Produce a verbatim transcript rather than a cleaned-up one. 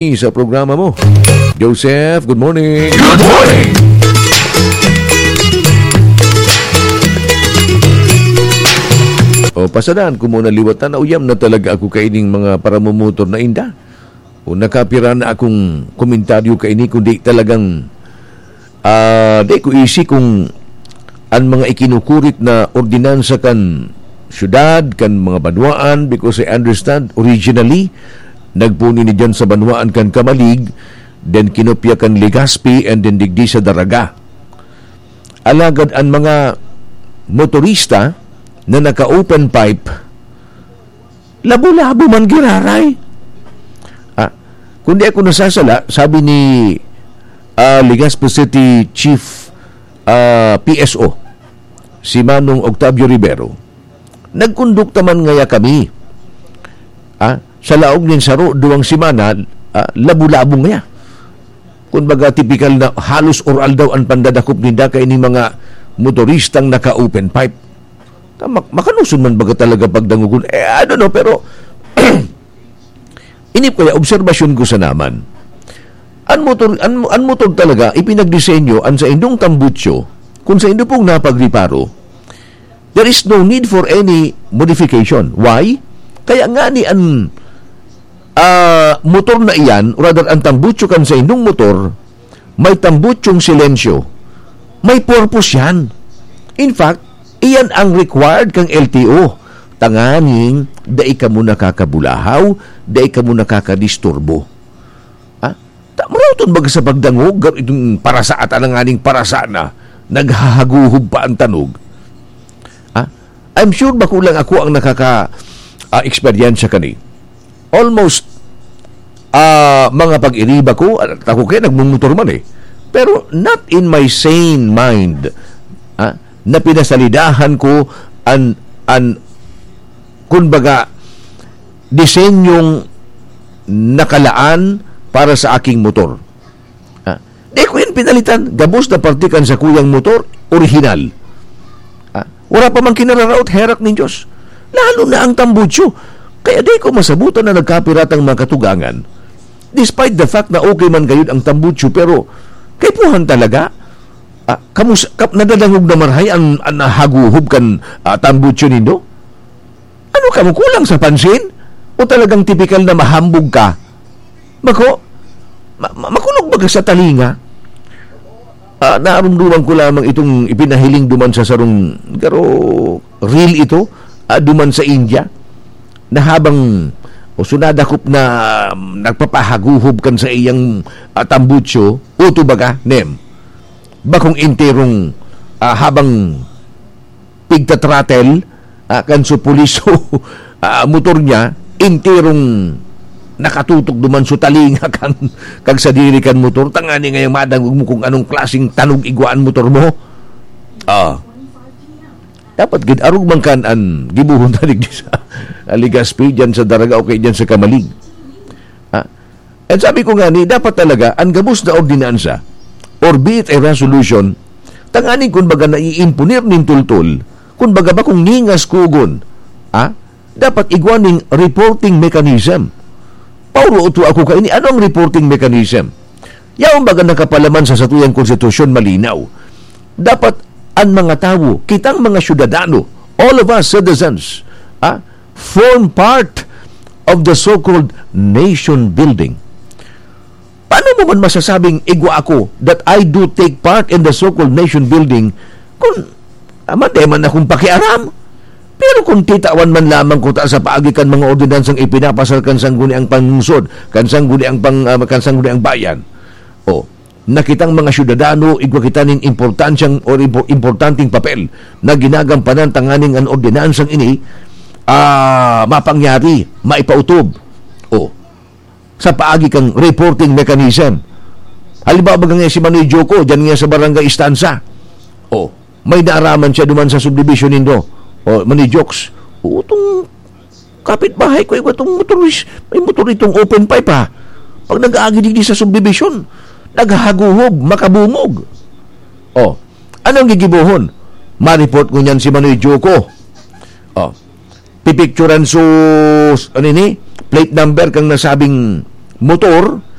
sa programa mo. Joseph, good morning. Good morning. O, pasadaan ko muna liwat na nauyam na talaga ako kaining mga paramumotor na inda. O, nakapira na akong komentaryo kaini, kundi talagang, ah, di ko isi kung an mga ikinukurit na ordinansa kan syudad, kan mga banwaan, because I understand, originally, nagpuni ni dyan sa banwaan kan Camalig, then kinopya kan Legazpi, and then digdi sa Daraga. Alagad an mga motorista na naka-open pipe, labo-labo man giraray. Ah, kung di ako nasasala, sabi ni, ah, Legazpi City Chief, ah, P S O, si Manong Octavio Rivero, "Nagkondukta man ngaya kami, ah, sa laog nin saro, duwang semana, ah, labo-labo ngaya." Kumbaga, tipikal na halos oral daw an pandadakop ninda kaining mga motoristang naka-open pipe. Ta-, mak-, makanuson man baga talaga pagdangogon? Eh, I don't know, pero ini kaya obserbasyon ko sa naman. An motor, an, an motor talaga, ipinagdisenyo, an saindong tambutso, kung saindo pong napagreparo, there is no need for any modification. Why? Kaya nga ni an, ah, motor na iyan, rather an tambutso kan saindong motor, may tambutsong silensyo. May purpose yan. In fact, iyan ang required kang L T O. Tanganing, dai kamo nakakabulahaw, dai kamo nakakadisturbo. Ha? Ta-, maraot baga sa pagdangog, gar-, itong parasa at alanganing parasa na, naghahaguhob pa ang tanog. Ha? I'm sure bako lang ako ang nakaka, ah, eksperyensya kani. Almost, ah, mga pag-iriba ko, ah, ako kaya nagmumotor man eh. Pero not in my sane mind, ah, na pinasalidahan ko an, an, kumbaga, disenyong nakalaan para sa aking motor. Ah, di ko yan pinalitan. Gabos na parte kan sakuyang motor, orihinal. Ah, wala pa man kinararaot, herak nin Diyos. Lalo na ang tambutso. Kaya di ko masabutan na nagkapiratang mga katugangan. Despite the fact na okay man gayud ang tambutso, pero kaipuhan talaga. Ah, kamus-, kap-, nadadangog na marhay ang, ang haguhob kan, ah, tambutso nindo? Ano ka mo, kulang sa pansin? O talagang tipikal na mahambog ka? Bako, ma-, ma-, makulog baga sa talinga? Ah, narumduman ko lamang itong ipinahiling duman sa sarong garo reel ito, ah, duman sa India, na habang o sunadakop na, um, nagpapahaguhob kan sa iyang, ah, tambutso, uto baga, nem. Bakong enterong, ah, habang pigta-throttle, ah, kan supuliso, ah, motor niya, enterong nakatutok duman sa talinga kan, kag sadiri kan motor, tangani ngayang madangog mo kung anong klaseng tanog igwa an motor mo. Ah. Dapat gid arog man kan an gibohon ta digdi sa Legazpi, dyan sa Daraga, o kaya dyan sa Camalig. Ah, And sabi ko nga ni, dapat talaga an gabos na ordinansa, or be it a resolution, tanganing kun baga naiimponer nin tultol, kun baga bakong ningas kugon, ah, dapat igwa ning reporting mechanism. Pauro uto ako kaini, ano ang reporting mechanism? Yaon baga nakapalaman sa satuyang konstitusyon malinaw. Dapat an mga tawo, kitang mga syudadano, all of us citizens, ah, form part of the so-called nation building. Paano mo man masasabing igwa ako that I do take part in the so-called nation building kung, ah, mande man akong pakiaram? Pero kung titawan man lamang ko ta sa paagi kan mga ordinansang ipinapasar kan sangguniang panlungsod, kan sangguniang pang-, ah, kan sangguniang bayan, o na kitang mga syudadano, igwa kita nin importansyang o impo-, importanteng papel na ginagampanan tanganing an ordinansang ini, ah, mapangyari, maipautob. O, sa paagi kang reporting mechanism. Halimbawa, baga nga si Manoy Joko, dyan nga sa Barangay Istansa. O, may naaraman siya duman sa subdivision nindo. O, Manoy Jokes. O, itong kapitbahay ko, igwa tong motoris-, may motor itong open pipe, ha. Pag nag-aagi digdi sa subdivision, naghahaguhob, makabungog. O, anong gigibohon? Ma-report ko niyan si Manoy Joko. O, pipicturan sus, ano ini? Plate number kang nasabing motor,